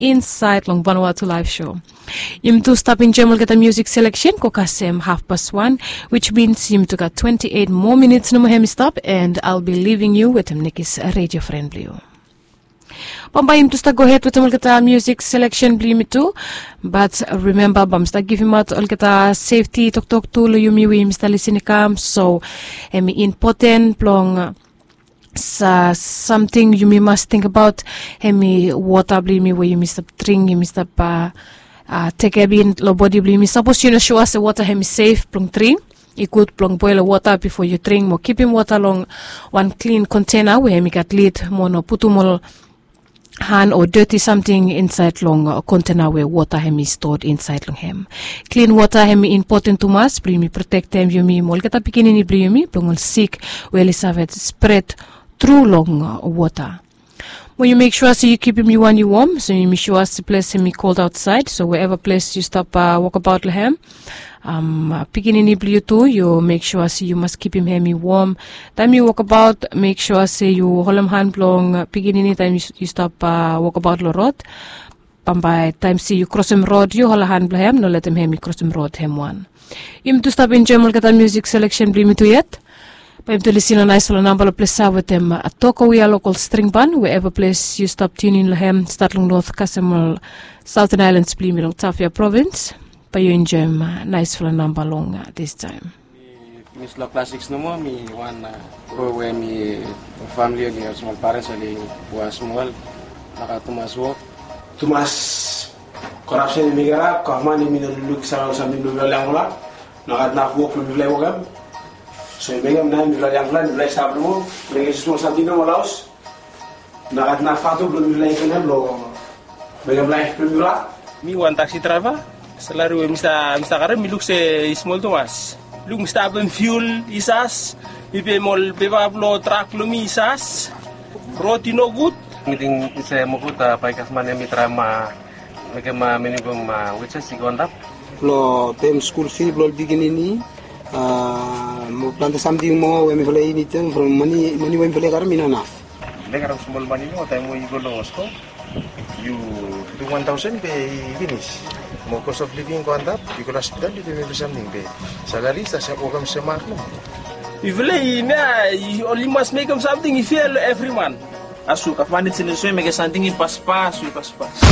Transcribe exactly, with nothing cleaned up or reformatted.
insaed long Vanuatu Live Show. Yumi tu stap enjoem olgeta musik seleksen go kasem hafpas wan, which means yumi tu gat twenti eit moa minits nomo hem i stap, and I'll be leaving you wetem nekis redio fren blong yu. Bambae yumi tu stap gohed wetem olgeta musik seleksen blong yumi tu. Bat rimemba bae mi stap givimaot olgeta sefti toktok tu long yumi we yumi stap lisin i kam, so hem i impoten blong sa samting yumi mas tingbaot, hem i wota blong yumi we yumi stap dring, yumi stap a, a, tekem in long bodi blong yumi. Sapos yu no sua se wota hem i sef blong dring, i gud blong boel wota bifo yu dring mo kipim wota long wan klin kontena we hem i gat lid mo no putum ol han o doti samting insaed long kontena we wota hem i stot insaed long hem. Klin wota hem i impoten tumas blong yumi protektem yumi mo olgeta pikinini blong yumi blong ol sik we oli save spret tru long wota. Mo yu mek sua se yu kipim yu wan yu wom, so yumi sua se ples hem i kold aotsaed, so wherever ples yu stap wokabaot long hem, pikinini blong yu tu yu mek sua se yu mas kipim hem i wom. Taem yu wokabaot mek sua se yu holem han blong pikinini taem yu stap wokabaot long rod. Bambae taem se yu krosem rod yu holem han blong hem, no letem hem i krosem rod hem wan. Yumi tu stap enjoem olgeta musik seleksen blong yumi tu yet. Bae yumi tu lisin long naesfala namba long ples ya wetem Toko We Are Local String Band, wherever ples yu stap tiunin long hem, stat long not kasem ol Southern Islands blong yumi long Tafea Provins. Bae yu enjoem naesfala namba long distaem. Mi finis long klas sikis nomo, mi wan bro we mi famili oli olsem ol parens oli was mol, nogat tumas wok. Tumas korapsen i mekem, gavman i no lukluk samting blong mifala yangfala. Nogat naf wok blong mifala i wokem. So i mekem nao mifala yangfala mifala i stap long wok, mekem smol samting nomo long haos. Nogat naf fatu blong mifala i givim long mekem laef blong mifala. Mi wan taksi draeva. Salari we mi stap karem mi luk se i smol tumas. Luk mi stap pem fiul i sas, mi pem ol pepa blong trak blong mi i sas. Rod i nogud. Mi ting se mokut bae gavman hem i traem mekem minimam wejes i go antap. Blong pem skul fi blong ol pikinini, mo plante samting moa we mifala i nidim from mane we mifala i karem i no naf. Mifala i karem smol mane moa taem we yu go long stoa, yu dum wan taosen be i finis. Mo kos of living i go antap, yu go long hospital yu pem evri samting be salari i stap wokem semak nomo. Mifala i nao oli mas mekem samting i fea long evri man. Asu gavman i seniso i mekem samting i paspas i paspas.